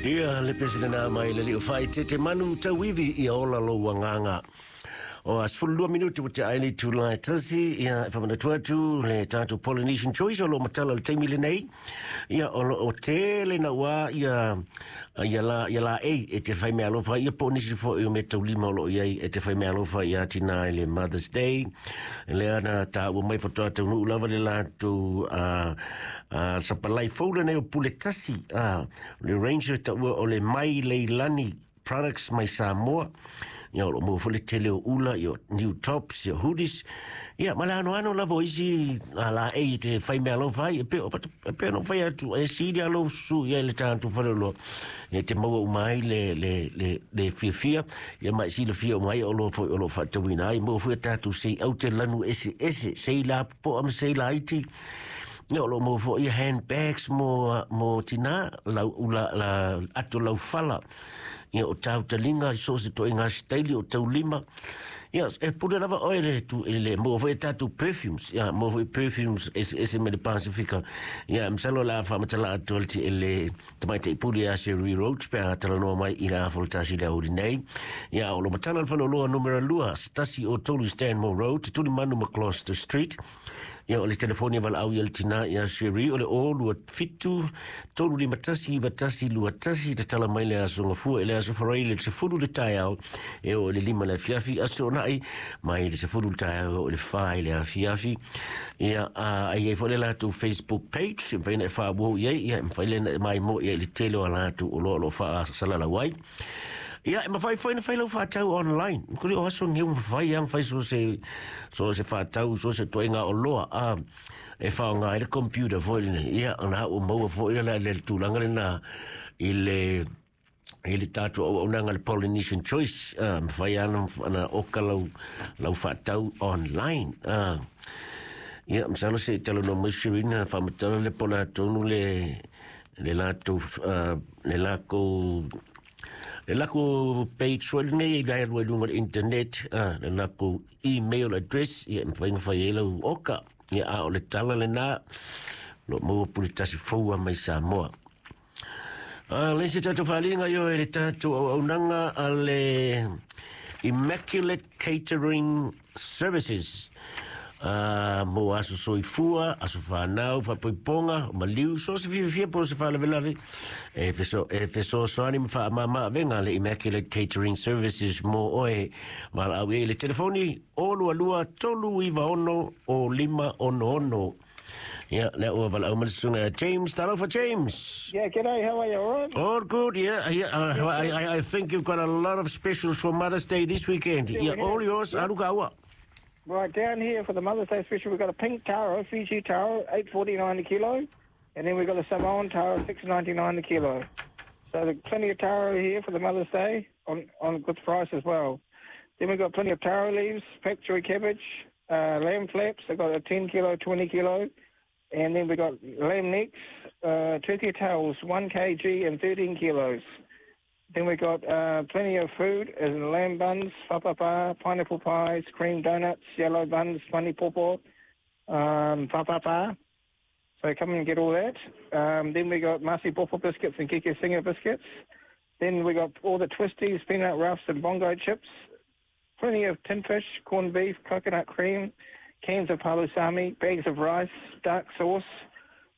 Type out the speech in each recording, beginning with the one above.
Ia, le pese lena mai le alii o Faaeteete Manu Tauivi, ia ola lou agaga. O a 12 minute ua tea ai le itula e 1, ia, e faamanatu atu le tatou Polynesian Choice o lo o matala i le taimi lenei. Ia, o lo o tele naua ia, ia la, ia laei e te fai meaalofa ai, ia po o nisi foi o meataulima o lo o i ai e te fai meaalofa ia tinā i le Mother's Day. Lea na taua mai faatoa taunuu lava le latou sapalai fou lenei o Pule Tasi, le range e taua o le Mai Leilani Products mai Samoa. Ia, o lo o maua foi le tele o ula, ia, new tops, ia, hoodies, ia, ma le anoano lava o isi laei e te fai meaalofa ai. E pei e pei ona ou fai atu, e sili lava lou susu i ai i le tatou faleoloa, e te maua uma ai le, le, le, le fiafia, ia, ma e silafia uma ai oloa foi o lo o faatauina ai. Maua foi a tatou sei aute lanu eseese, sei lapopoa ma sei laiti. Ia, o lo o maua foi handbags mo tinā, lau, ula, la, ato laufala, ia, o tautaliga i so o se ituaiga sitaili, o taulima. Ia, e pule lava oe le tu, i le maua foi a tatou perfumes, ia, maua foi perfumes eseese mai le Pasifika. Ia, masalo o le a faamatala atu e le tamaitai pule ia Sherry Roach pe a talanoa mai i le 11:30 i le aoauli nei. Ia, o lo o matala le faleoloa numera 2, 103 Stanmore Road, Tulimanu ma Gloucester Street. Ia, o le telefoni e valaau i le tinā ia Sherry o le 0 27 351 9121. Tatala mai le aso Gafua i le aso Faraile i le 10 le taeao e oo i le 5 le afiafi, aso Toonai mai le 10 le taeao e oo i le 4 i le afiafi. Ia, a i ai foi le latou Facebook page e mafai ona e faauau i ai, ia, e mafai lea ona e maimoa i ai i le tele o a latou oloa o lo o faasalalau ai. Ia, e mafai foi ona fai lau faatau online. Kuli o aso nei ua mafai lava ona fai so se faatau, so se ituaiga oloa a e faaaoga ai le computer foi lenei. Ia, ona ua maua foi le tulaga lena i le tatou auaunaga le Polynesian Choice, mafai lava ona oka lau faatau online. Ia, masalo se i talanoa mai Serena faamatala le po o le a tonu le lakou page foi lenei i le alu ai luga o le internet, le lakou email address, ia, e mafai ona fai ai lau oka. Ia, a o le tala lena, o lo o maua pule tasi fou lava mai Samoa. Le isi tatou faaaliga io e le tatou auaunaga a le Immaculate Catering Services. Mo aso soifua, aso whanau, whapoiponga, maliu, so se fiafia po se faalavelave, e fesoasoani ma faamama avega le Immaculate Catering Services mo oe. Valaau i le telefoni 022 396 0566. Ia, lea ua valaau mai le susuga James. Talofa, James. Yeah, g'day. How are you? All right? All good, yeah. I think you've got a lot of specials for Mother's Day this weekend. Yeah, Yeah, we have. all yours. Alu ka ua. Right down here for the Mother's Day special, we've got a pink taro, Fiji taro, 8.49 a kilo, and then we've got a Samoan taro, 6.99 a kilo. So there's plenty of taro here for the Mother's Day on good price as well. Then we've got plenty of taro leaves, pak choi cabbage, lamb flaps. I've got a 10 kilo, 20 kilo. And then we've got lamb necks, turkey tails, 1 kg and 13 kilos. Then we got plenty of food, as in lamb buns, fapapa, pineapple pies, cream donuts, yellow buns, funny popo, fapapa. So come and get all that. Then we got Masi Popo biscuits and Keke Singer biscuits. Then we got all the twisties, peanut roughs and bongo chips. Plenty of tin fish, corned beef, coconut cream, cans of palusami, bags of rice, dark sauce,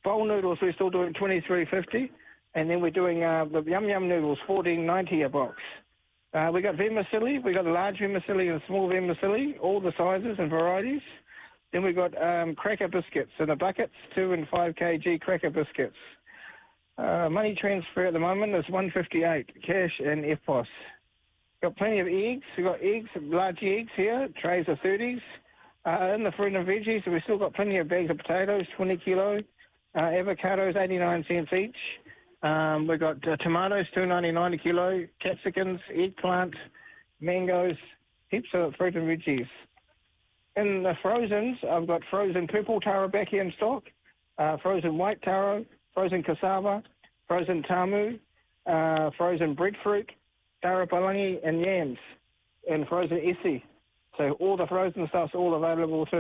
bowl noodles. We're still doing 23.50, and then we're doing the yum yum noodles, 14.90 a box. We got vermicelli. We got large vermicelli and small vermicelli, all the sizes and varieties. Then we got cracker biscuits in the buckets, 2 and 5 kg cracker biscuits. Money transfer at the moment is 158 cash and EFTPOS. Got plenty of eggs. We've got eggs, large eggs here, trays of 30s. In the fruit and veggies, we've still got plenty of bags of potatoes, 20 kilo. Avocados, 89 cents each. We've got tomatoes, 2.99 a kilo. Capsicums, eggplant, mangoes, heaps of fruit and veggies. In the frozens, I've got frozen purple taro back here in stock, frozen white taro, frozen cassava, frozen tamu, frozen breadfruit, taro palangi, and yams, and frozen esi. So all the frozen stuff's all available too.